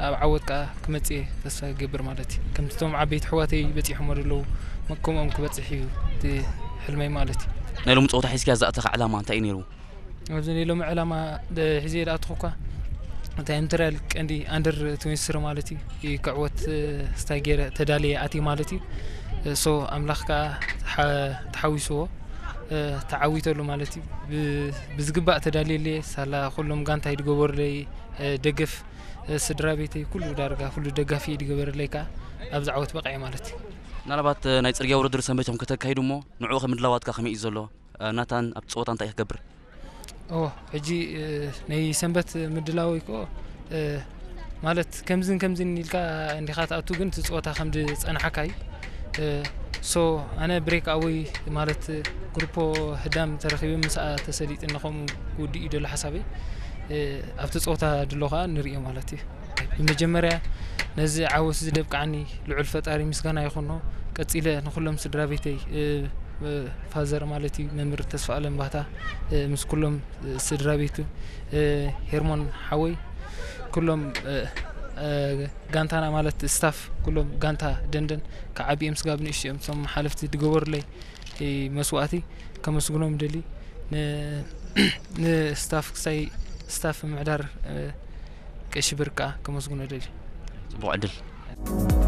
ኣብ ዓወት ከዓ ክመፅእ እየ ተስፋ ይገብር ማለት እዩ። ከምቲ እቶም ዓበይቲ ኣሕዋተይ በፂሖሞ ዘለዉ፣ ከምኦም ክበፅሕ እዩ እቲ ሕልመይ ማለት እዩ። ናይ ሎሚ ፀወታ ሒዝካ ዝኣተኻ ዕላማ እንታይ እዩ ነይሩ? ኣብዚ ናይ ሎሚ ዕላማ ደ- ሒዘ ዝኣተኹ እኳ እንታይ ምትርያል ቀንዲ ኣንደር ትዌንቲ ስሪ ማለት እዩ ክዕወት፣ እ፣ ስታይ ገይረ ተዳልየ ኣትየ ማለት እዩ። እ፣ ሶ ኣምላኽ ከዓ ተሓ- ተሓዊስዎ፣ እ፣ ተዓዊተሉ ማለት እዩ። ብ- ብዝግባእ ተዳልየለየ ሳላ ኩሎም ጋንታይ ድገበሩለይ፣ እ፣ ደገፍ፣ እ፣ ስድራ ቤተይ ኩሉ ዳርጋ ኩሉ ደጋፊ ድገበረለይ ከዓ ኣብዚ ዓወት በቂዐ ማለት እዩ። ምናልባት እ፣ ናይ ፅርግያ ውድድር ሰንበት ኢኹም ከተካይዱ እሞ ንዕኡ ከምድላዋትካ ከመይ እዩ ዘሎ? እ፣ ናታን ኣብቲ ፀወታ እንታይ እዩ ክገብር? ኦ ሕጂ፣ እ፣ ናይ ሰንበት ምድላወይ ኮ፣ እ፣ ማለት ከምዝን ከምዝን ኢልካ እንዲኻ ትኣቱ፣ ግን እቲ ፀወታ ከም ዝፀንሓካ እዩ። እ፣ ሶ ኣነ ብሬክ ኣወይ ማለት ግሩፖ ህዳም ተረኺበ ምስኣ ተሰሊጥና ከምኡ ክውድእ እዩ ደሎ ሓሳበይ። እ፣ ኣብቲ ፀወታ ድሎ ከዓ ንርእዮ ማለት እዩ። ብመጀመርያ ነዚ ዓወት እዚ ደብቃዓኒ ልዑል ፈጣሪ ምስጋና ይኹኖ። ቀጺለ ንኹሎም ስድራ ቤተይ፣ እ፣ እ፣ ፋዘር ማለት እዩ መምህር ተስፋ ኣለም ባህታ፣ እ፣ ምስ ኩሎም፣ እ፣ ስድራ ቤቱ፣ እ፣ ሄርሞን ሓወይ፣ ኩሎም፣ እ፣ እ፣ ጋንታና ማለት ስታፍ ኩሎም ጋንታ ደንደን ካብ ዓቢኦም ስጋብ ንእሽትኦም እቶም ሓለፍቲ ዝገበሩለይ፣ እ፣ መስዋእቲ ከመስግኖም ደሊ። ን- ንስታፍ ክሳይ ስታፍ ምሕዳር፣ እ፣ ቀሺ ብርቃ ከመስግኖ ደሊ። ፅቡቕ ዕድል።